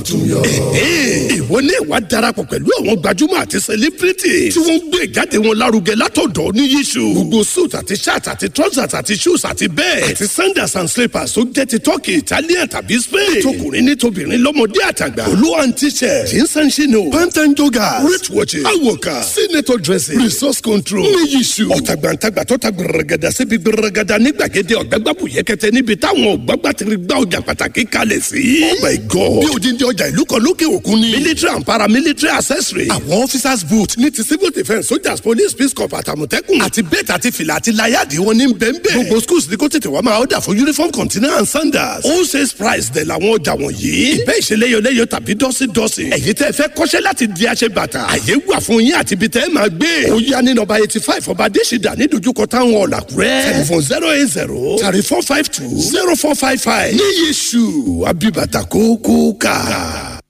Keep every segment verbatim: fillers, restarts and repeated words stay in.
Ìwọ ní ìwà darapọ̀ pẹ̀lú àwọn gbajúmọ̀ àti celebrity tí wọ́n ń gbé ìjáde wọn lárugẹ látọ̀dọ̀ ní yíṣu. Gbogbo suit àti shirt àti trousers àti shoes àti bẹ́ẹ̀ àti sandals and slippers tó jẹ́ ti Turkey, Italian tàbí Spain. Tọkùnrin ní tobìnrin, lọ́mọdé àtàgbà. Olú and t-shirt, jeans and chino, pant and joggers, wrist watches, awoka, senator dressing, resource control ní yíṣu. Ọ̀tàgbàǹtàgbà tó ta gbẹrẹgàdà síbi gbẹrẹgàdà ní gbàgede ọ̀gbẹ́gbàbù yẹkẹtẹ níbi táwọn ọ̀gbàgbà ti gbá ọjà pàtàkì kalẹ̀ sí. Oh my God! Bí odindi ọjà ìlú kan lókè òkun ni. Military and paramilitary accessory. Àwọn officers boot ní ti civil defence, soldiers, police, peace corps, àtàmọ̀tẹ́kùn. Àti bẹ́ẹ̀tì àti fìlà àti láyàdì wọn ní bẹ́ẹ̀nbẹ́ẹ̀. Gbogbo schools ní kó tètè wá máa order fún uniform, container and sandals. Wholesale price dẹ̀ làwọn ọjà wọ̀nyí. Ìbẹ́ ìṣeléyọléyọ tàbí dọ́sídọ́sí. Ẹ̀yin tẹ́ fẹ́ kọ́ṣẹ́ láti di aṣebàtà, àyè wà fún yín àti ibi tẹ́ ẹ máa gbé. Ó yá ní nọ́mbà eighty five Ọba Adésìdá ní dojúkọ táwọn ọ̀làkúrẹ́. Telephone zero eight zero thirty four five two zero four five five. Ní Yéṣu Abibata kókó ká.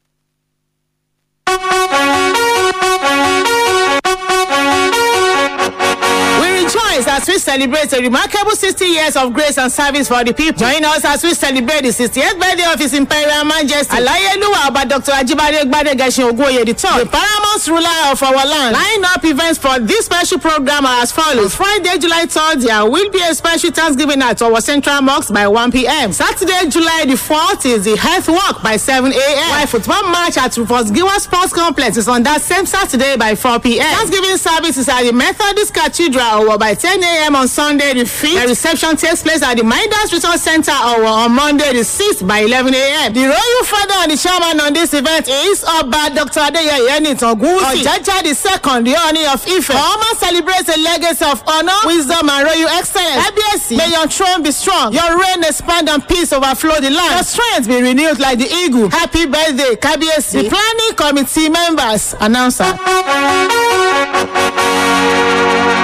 We rejoice as we celebrate a remarkable sixty years of grace and service for the people. Join us as we celebrate the sixtieth birthday of His Imperial Majesty, Alayeluwa Oba Doctor Ajibade Gbadegeshin Ogunoye the Third, the paramount ruler of our land. Line up events for this special program are as follows. Friday, July third, there will be a special Thanksgiving at our Central Mosque by one p m. Saturday, July the fourth is the health walk by seven a m. While football match at Rufus Giwa Sports Complex is on that same Saturday by four p m. Thanksgiving service is at the Methodist Cathedral Owo by ten a m on Sunday the fifth. The reception takes place at the Midas Resource Center Owo on Monday the sixth by eleven a m. The royal father and the chairman on this event is Oba Doctor Adeyeye Enitan Ogunwusi, Ojaja the Second, the Ooni of Ife. Oma celebrates a legacy of honor, wisdom and royal excellence. Kábíyèsí, may your throne be strong, your reign expand and peace overflow the land. Your strength be renewed like the eagle. Happy birthday, Kábíyèsí. The planning committee members, announcer.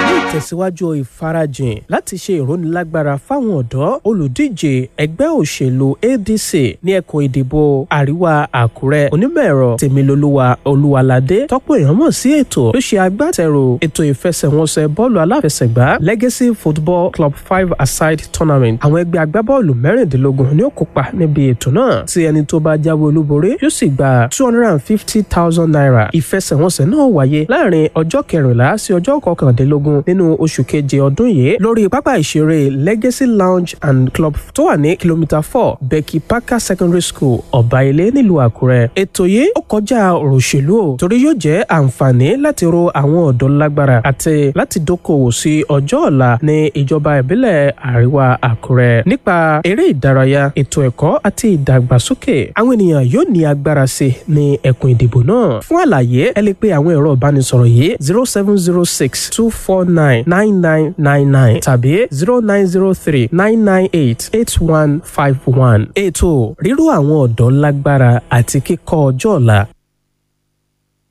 Ní ìtẹ̀síwájú ìfarajìn láti ṣe ìrónilágbára fáwọn ọ̀dọ́, olùdíje ẹgbẹ́ òṣèlú A D C ní ẹkùn ìdìbò Àríwá Àkúrẹ́, onímọ̀-ẹ̀rọ Tèmilolúwa Olúwaládé, tọ́pọ̀ èèyàn mọ̀ sí ètò, ló ṣe agbátẹrù ètò ìfẹsẹ̀wọnsẹ̀ bọ́ọ̀lù aláfẹsẹ̀gbá Legacy Football Club Five Aside Tournament. Àwọn ẹgbẹ́ agbábọ́ọ̀lù mẹ́rìndínlógún ni ó kópa níbi ètò náà, tí ẹni tó bá jáwé olúborí yóò sì gba two hundred and fifty thousand naira. Ìfẹsẹ̀wọnsẹ̀ náà wáyé láàrin ọjọ́ kẹrìnlá sí ọjọ́ kọkàndínlógún nínú oṣù keje ọdún yìí lórí pápá ìṣeré Legacy Lounge and Club tó wà ní kìlómítà four, Becky Parker Secondary School, Ọ̀báilé, nílùú Àkúrẹ́. Ètò yìí ó kọjá ọ̀rọ̀ òṣèlú o, torí yóò jẹ́ àǹfààní láti ro àwọn ọ̀dọ́ lágbára àti láti dókòwò sí ọjọ́ ọ̀la ní ìjọba ìbílẹ̀ Àríwá Àkúrẹ́. Nípa eré ìdárayá, ètò ẹ̀kọ́ àti ìdàgbàsókè, àwọn ènìyàn yóò ní agbára sí ní ẹkùn ìdìbò náà. Fún àlàyé, ẹ lè pe àwọn ẹ̀rọ ìbánisọ̀rọ̀ yìí: zero seven zero six two four nine nine nine nine nine tàbí zero nine zero three nine nine eight eight one five one. Ètò ríró àwọn ọ̀dọ́ lágbára àti kíkọ́ ọjọ́ ọ̀la.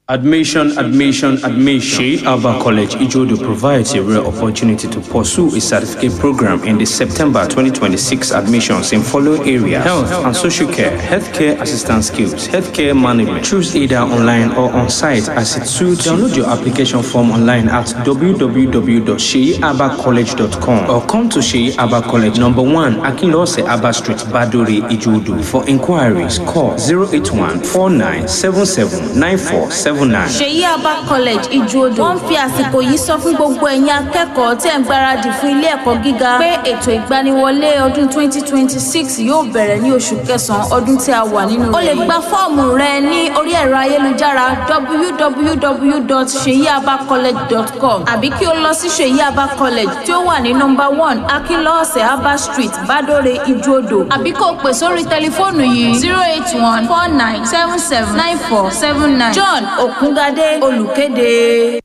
Admission, admission, admission. Sheikh Alba College, Ijodo provides a rare opportunity to pursue a certificate program in the September twenty twenty-six admissions in following areas: health and social care, healthcare assistance skills, healthcare management. Choose either online or on site as it suits you. Download your application form online at w w w dot sheabacollege dot com or come to Sheikh Abba College, number one, Akinlose Abba Street, Badore, Ijodo. For inquiries, call zero eight one four nine seven seven nine four seven nine. Ṣèyí Abba College Ìjòdò wọ́n ń fi àsìkò yìí sọ fún gbogbo ẹ̀yin akẹ́kọ̀ọ́ tẹ̀ ń gbáradì fún ilé ẹ̀kọ́ gíga pé ètò ìgbaniwọlé ọdún twenty twenty-six yóò bẹ̀rẹ̀ ní oṣù kẹsàn-án ọdún tí a wà nínú rẹ̀. O lè gba fọ́ọ̀mù rẹ ní orí ẹ̀rọ ayélujára w w w dot seyiabacollege dot com àbí kí o lọ sí Ṣèyí Abba College tí ó wà ní nọ́mbà one, Akínlọ́ọ̀sẹ̀ Abba Street, Bádóre, Ìjòdò, àbí kó o pè sórí tẹlifóònù yìí: zero eight one four nine seven seven nine four seven nine. John Òkúngadé, olùkéde.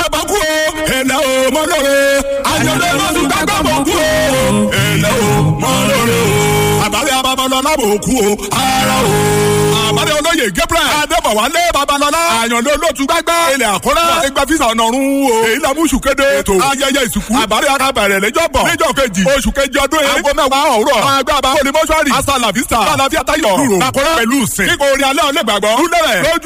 Àbákú o, ẹ̀lẹ́ o mọ́ lóore, àjọ̀dún lọ́dún gbàgbọ́ bọ̀ kú o, ẹ̀lẹ́ o mọ́ lóore o. Àbálẹ̀ Babalọ́lá bò kú o, ara o. Àbálẹ̀ olóyè Gabriel Adébọ̀wálé Babalọ́lá, àyànló olóòtú gbágbá ilẹ̀ Àkúrẹ́, wọ́n ti gba físà ọ̀nà ọ̀run o. Èyí la mú oṣù kéde ètò ayẹyẹ ìsìnkú. Àbálẹ̀ akábẹ̀rẹ̀ lẹ́jọ́ bọ̀ níjọ́ kejì oṣù kejì ọdún yìí. Aago mẹ́wàá òwúrọ̀ agbábá olùmọ́ṣúárì Asala Vista Àlàáfíà Tayọ̀ Lúrò Àkúrẹ́ pẹ̀lú sìn. Kíkọ orin alẹ́ ọ̀lẹ́gbàgbọ́. Lúlẹ̀rẹ̀ lójú.